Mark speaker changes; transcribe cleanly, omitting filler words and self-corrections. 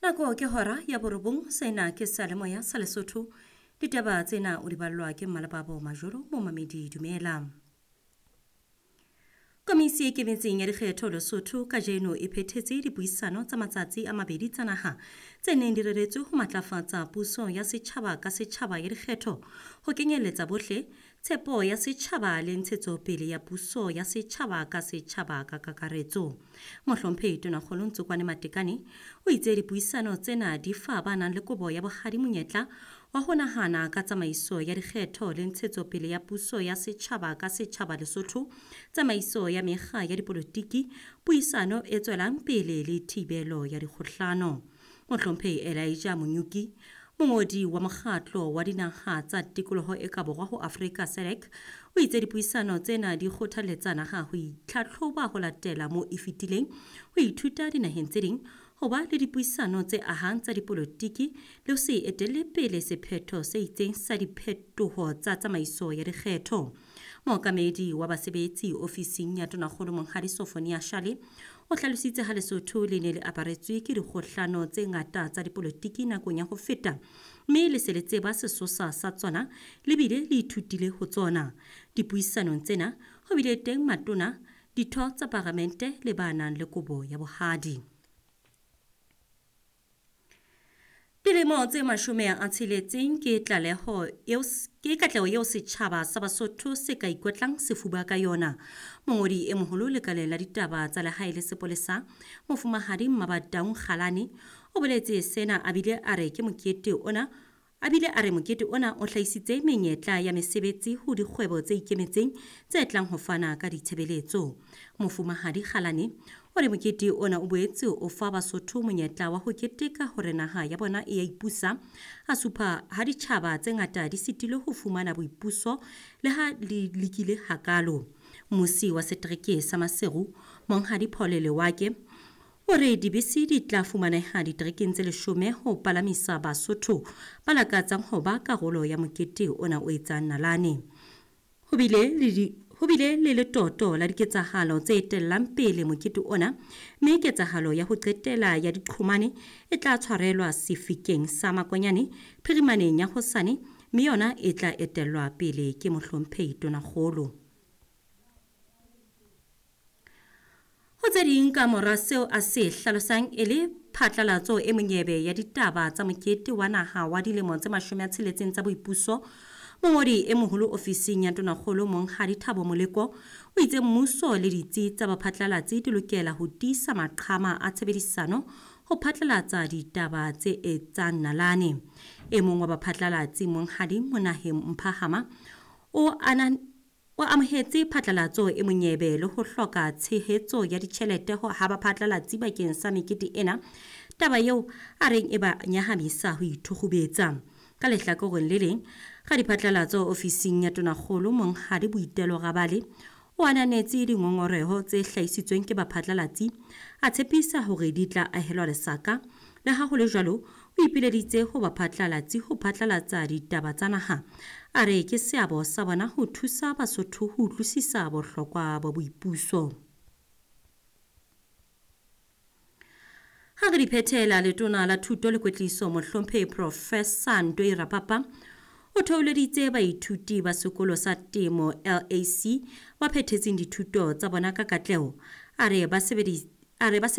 Speaker 1: Nako ke hora ya borobong, sena ke seyalemoya sa Lesotho. Ditaba tsena o di ballwa ke Mmalebabo Majoro, momamedi dumela. Komisi e ikemetseng ya dikgetho Lesotho kajeno e phethetse dipuisano tsa matsatsi a mabedi tsa naha tse neng di reretswe ho matlafatsa puso ya setjhaba ka setjhaba ya dikgetho, ho kenyelletsa bohle, tshepo ya setjhaba le ntshetsopele ya puso ya setjhaba ka setjhaba ka kakaretso. Mohlomphehi Tonakgolo Ntsokwane Matekane o itse dipuisano tsena di fa ba nang le kobo ya bohadi monyetla wa ho nahana ka tsamaiso ya dikgetho le ntshetsopele ya puso ya setjhaba ka setjhaba Lesotho, tsamaiso ya mekga ya dipolotiki, puisano e tswelang pele le thibelo ya dikgohlano. Mohlomphehi Elijah Monyuki, mongodi wa mokgatlo wa dinaha tsa tikoloho e ka borwa ho Afrika SADC, o itse dipuisano tsena di kgothaletsa naha ho itlhatlhoba ho latela mo e fetileng, ho ithuta dinaheng tse ding, ho ba le dipuisano tse ahang tsa dipolotiki le ho se etelle pele sephetho se itseng sa diphetoho tsa tsamaiso ya dikgetho. Mookamedi wa basebetsi ofising ya Tonakgolo Monghadi Sofonia Shale o hlalositse ha Lesotho le ne le aparetswe ke dikgohlano tse ngata tsa dipolotiki nakong ya ho feta, mme le se le tseba sesosa sa tsona le bile le ithutile ho tsona. Dipuisanong tsena ho bile teng matona, ditho tsa paramente le ba nang le kobo ya bohadi. Dilemo tse 60 ke tlaleho eo ke katleho eo setjhaba sa Basotho se ka ikotlang sefuba ka yona. Mongodi e moholo lekaleng la ditaba tsa lehae le sepolesa, Mofumahadi Mmabadaung Kgalane, o boletse sena a bile a re ke mokete ona a bile a re mokete ona o hlahisitse menyetla ya mesebetsi ho dikgwebo tse ikemetseng tse tlang ho fana ka ditshebeletso. Mofumahadi Kgalane o re mokete ona o boetse o fa Basotho monyetla wa ho keteka hore naha ya bona e ya ipusa, a supa ha ditjhaba tse ngata di sitilwe ho fumana boipuso le ha li lekile hakalo. Mmusi wa setereke sa Maseru, Monghadi Paul Lewake, o re dibese di tla fumaneha diterekeng tse 10 ho palamisa Basotho ba lakatsang ho ba karolo ya mokete ona o etsang nalane. Ho bile le letoto la diketsahalo tse etellang pele mokete ona, mme ketsahalo ya ho qetela ya diqhomane e tla tshwarelwa sefikeng sa Makonyane phirimaneng ya hosane, mme yona e tla etellwa pele ke Mohlomphehi Tonakgolo. Ho tse ding ka mora seo a se hlalosang e le phatlalatso e monyebe ya ditaba tsa mokete wa naha wa dilemo tse 60 tsa boipuso, mongodi e moholo ofising ya Tonakgolo Monghadi Thabo Moleko o itse mmuso le ditsi tsa baphatlalatsi di lokela ho tiisa maqhama a tshebedisano ho phatlalatsa ditaba tse etsang nalane. E mong wa baphatlalatsi Monghadi Monaheng Mphahama o amohetse phatlalatso e monyebe le ho hloka tshehetso ya ditjhelete ho ha baphatlalatsi bakeng sa mekete ena, taba eo a reng e ba nyahamisa ho ithukgubetsa. Ka lehlakoreng le leng, radiphatlalatso ofising ya Tonakgolo Monghadi Boitelo Rabale o ananetse dingongoreho tse hlahisitsweng ke baphatlalatsi, a tshepisa hore di tla ahelwa lesaka. Le ha ho le jwalo, o ipileditse ho baphatlalatsi ho phatlalatsa ditaba tsa naha. A re ke seabo sa bona ho thusa Basotho ho utlwisisa bohlokwa ba boipuso. Ha re di phethela, letona la thuto le kwetliso Mohlomphehi Professor Ntoi Rapapa o theoleditse baithuti ba sekolo sa temo LAC ba phethetseng dithuto tsa bona ka katleho. A re ba